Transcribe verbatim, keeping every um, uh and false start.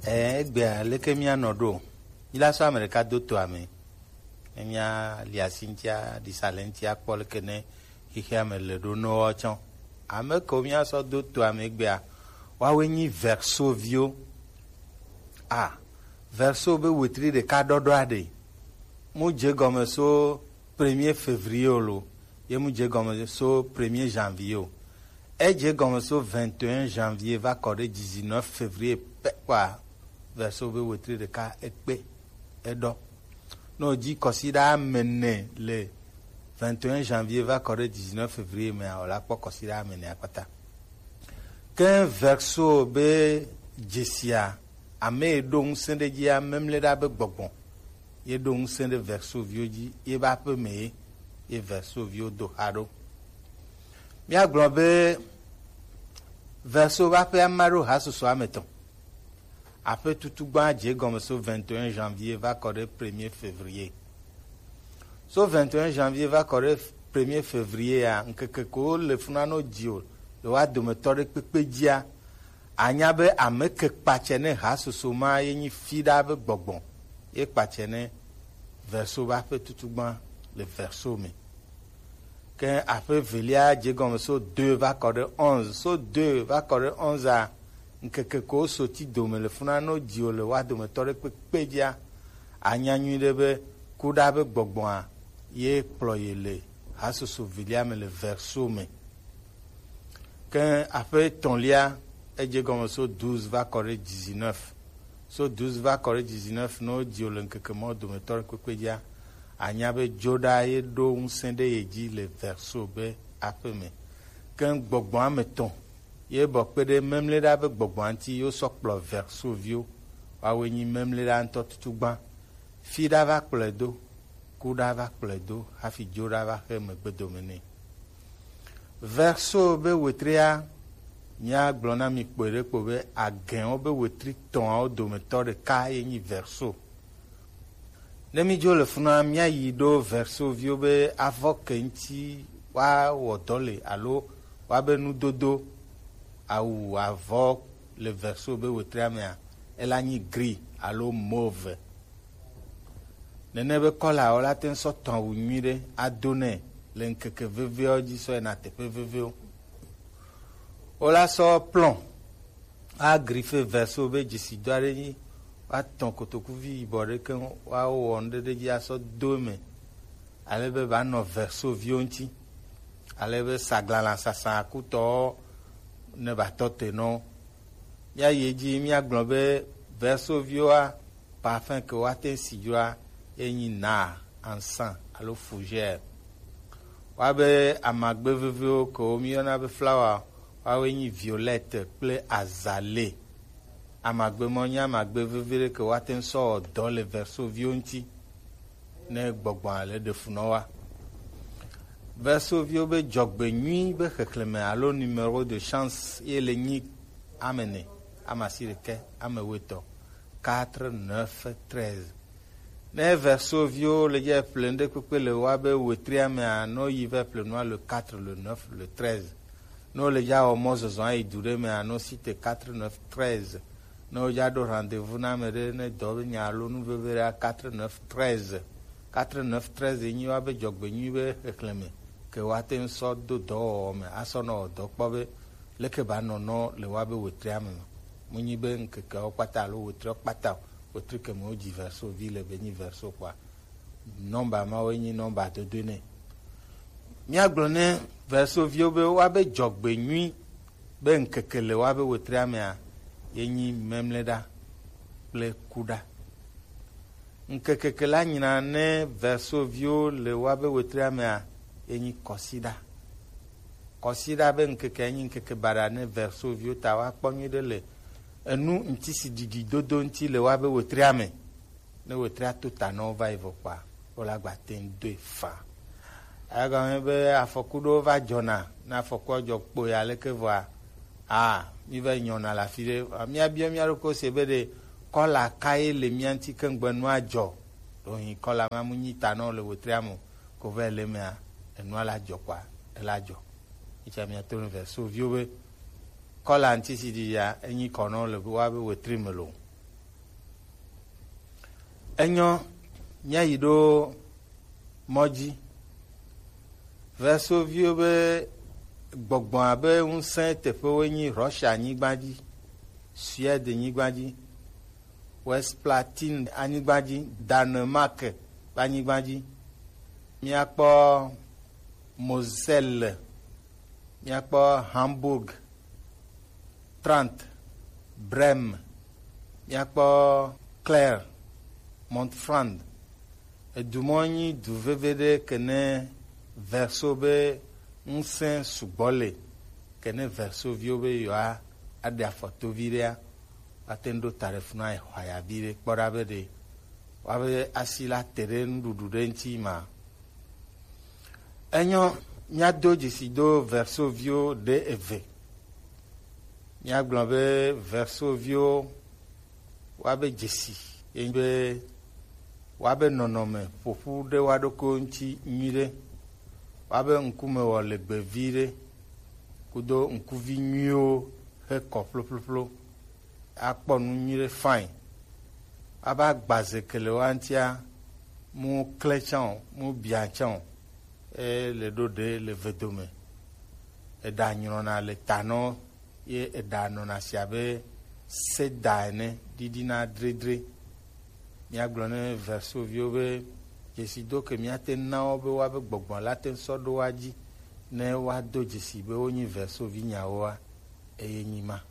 Ɛɛ, egbea leke míanɔ ɖo? Míla sɔ ame ɖeka do to ame. Ne míali asi ŋuti aɖi sa le ŋuti akpɔ leke ne xexea me le ɖo nɔ tsɔ. Ame kewo míasɔ do to ame egbea, woawoe nyi Verseau viwo. A, Verseau be wetri ɖeka ɖɔɖɔa ɖe. Mu dze gɔme so premier février o lo, ye mu dze gɔme so premier janvier o. Edze gɔme so vingt et un janvier va kɔ ɖe dix-neuf février pɛ kpɔa, Verseau be wetri ɖeka ekpe, eɖɔ. Ne wòdzi kɔsiɖa ame ene le vingt et un janvier va kɔ ɖe dix-neuf février mea, wòla kpɔ kɔsiɖa ame enea kpata. Ke Verseau be dzesia, ame yi ɖo ŋusẽ ɖe dzia, memle ɖa be gbɔgbɔ ye ɖo ŋusẽ ɖe Verseau viwo dzi, ye be aƒe me ye, ye Verseau viwo do xa ɖo. Míagblɔ be Verseau be aƒea ma ɖo hasusu ame etɔ̃. Aƒe tutugbã dze gɔme so vingt et un janvier va kɔ ɖe premier février. So vingt et un janvier va kɔ ɖe premier février a, ŋkeke ko le funa no dzi o, le wa dometɔ ɖe kpekpe dzia, anya be ame ke kpatsɛ ne hasusu ma ye nyi fi ɖa be gbɔgbɔ, ye kpatsɛ ne Verseau be aƒe tutugbã le Verseau me. Ke aƒe evelia dze gɔme so deux va kɔ ɖe onze. So deux va kɔ ɖe onze a, ŋkeke ko so ti dome le funa no dzi o le wa dometɔ ɖe kpekpe dzia, anya nyuiɖe be kuɖa be gbɔgbɔa ye kplɔ ye le hasusu evelia me le Verseau me. Ke aƒe etɔ̃lia, edze gɔme so douze va kɔ ɖe dix-neuf. So douze va kɔ ɖe dix-neuf, ne wodzi wò le ŋkeke mawo dometɔ ɖe kpekpe dzia, anya be dzoɖa ye ɖo ŋusẽ ɖe ye dzi le Verseau be aƒe me. Ke gbɔgbɔ ame etɔ̃ ye bɔ kpe ɖe memle ɖa be gbɔgbɔa ŋuti ye wosɔ kplɔ Verseau viwo. Woawoe nyi memle ɖa ŋutɔ tutugbã. Fi ɖa va kplɔe do, ku ɖa va kplɔe do, hafi dzo ɖa va xe megbedome nɛ. Verseau be wetria, míagblɔ na mi kpoe ɖe kpo be agɛnwo be wetri tɔ̃awo dometɔ ɖeka ye nyi Verseau. Ne mídzo le funua, míayi ɖo Verseau viwo be avɔ ke ŋuti woawɔ dɔ le alo woabe nudodo, awu, avɔ le Verseau be wetria mea, ela nyi gris alo mauve. Nene be kɔlawo la te ŋu sɔ tɔn awu nyuiɖe ado nɛ le ŋkeke vevewo dzi sɔ yina teƒe vevewo. Wola sɔ plɔn agrife Verseau be dzesidɔ aɖe dzi, woatɔn kotokuvi yibɔ ɖe keŋ, woawɔ nu ɖe ɖe dzi asɔ do eme, ale be ba nɔ Verseau viwo ŋuti, ale be saglala sasa kutɔwo ne ba tɔ te nɔ. Míayi edzi, míagblɔ be Verseau viwoa, parfum ke woate ŋu si dzoa, ye nyi nard, encens alo fougère. Woabe amagbe veviwo ke wo míyɔna be flower, woawoe nyi violette kple azalée. Amagbe mawo nye amagbe vevi ɖe ke woate ŋu sɔ wɔ dɔ le Verseau viwo ŋuti ne gbɔgbɔa le ɖe fu nɔ wa. Verseau viwo be dzɔgbenyui be xexlẽme alo numéro de chance ye le nyi ame ene, ame asiɖekɛ, ame wuietɔ̃, quatre, neuf, treize. Ne Verseau viwo le dze ƒle ŋɖe kpekpe le woa be wetria mea, no yi va ƒle nua le quatre, le neuf, le treize. Ne wole dza wɔ mɔzɔzɔ ayi du ɖe mea, no site quatre, neuf, treize. Ne wodza ɖo rendez-vous na ame ɖe ne dɔ be nya alo nu veve ɖe, quatre, neuf, treize. Quatre, neuf, treize nyi woa be dzɔgbenyui be xexlẽme ke woate ŋu sɔ do dɔwɔwɔ me asɔ nɔ wɔ dɔ kpɔ be leke ba nɔ nɔ le woa be wetria me ma. Mu nyi be ŋkekeawo kpata alo wetriawo kpata o, wetri ke me wodzi Verseau vi le be nyi Verseau kpɔa, nɔmba mawoe nyi nɔmba dodoe nɛ. Míagblɔ ne Verseau viwo be woabe dzɔgbenyui be ŋkeke le woabe wetria mea, ye nyi Memleɖa kple Kuɖa. Ŋkeke ke la nyina ne Verseau viwo le woabe wetria mea, ye nyi Kɔsiɖa. Kɔsiɖa be ŋkeke ye nyi ŋkeke baɖa ne Verseau viwo, ta woakpɔ nyuiɖe le enu ŋutisiɖiɖi dodo ŋuti le woabe wetria me. Ne wetria to ta nɔ wo va yi vɔ kpɔa, wo la gba te ŋu doe faa. Egɔme be afɔku ɖewo va dzɔna, ne afɔkua dzɔ kpo ya leke vɔa, a, mi va yi nyɔna le afi ɖe. Míabiɔ mía ɖokui se be ɖe kɔla ka ye le mía ŋuti ke ŋgbe nua dzɔ. Ɖo hin kɔla ma mu nyi ta nɔ le wetria me o, ko va yi le emea, enua la dzɔ kpɔa, ela dzɔ. Etsɛ mía to ne Verseau viwo be kɔla ŋutisiɖiɖia, enyi kɔ nɔ le woabe wetri me lo. Enyo, míayi ɖo mɔ ji. Versoviwo be gbɔgbɔa be ŋusẽ teƒewoe nyi Russia nyigba dzi, Suède nyigba dzi, West Platine anyigba dzi, Danemark ƒe anyigba dzi. Míakpɔ Moselle, míakpɔ Hamburg, Trant, Brême, míakpɔ Clare, Montfranc. Edu mɔ nyi du veve ɖe ke ne Verso be ŋusẽ sugbɔ le, ke ne Versoviwo be yewoa aɖe afɔtovi ɖea, woate ŋu ɖo ta ɖe funu ayi xɔaya vi ɖe kpɔ ɖa be ɖe woabe asi la te ɖe nuɖuɖu ɖe ŋuti ma. Enyo, míado dzesi do Versoviwo ɖe eve. Míagblɔ be Versoviwo woabe dzesi ye nyi be woabe nɔnɔme ƒoƒu ɖe woa ɖokuiwo ŋuti nyui ɖe, woabe ŋkume wɔ legbe vi ɖe, kudo ŋkuvi nyuiwo he kɔ ƒloƒloƒlo, akpɔ nu nyui ɖe fine, aba gbaze ke le woa ŋutia, mu klẽ tsã o, mu bia tsã o, e le ɖo ɖe le vedome. Eɖa nyrɔna le ta nɔ ye eɖa nɔna si abe seda ene ɖiɖina dredre. Míagblɔ ne Versoviwo be dzesido ke míate ŋu na wo be woabe gbɔgbɔ la te ŋu sɔ ɖo woa dzi ne woado dzesi be wonyi Versovi nyawoa, eye nyi ma.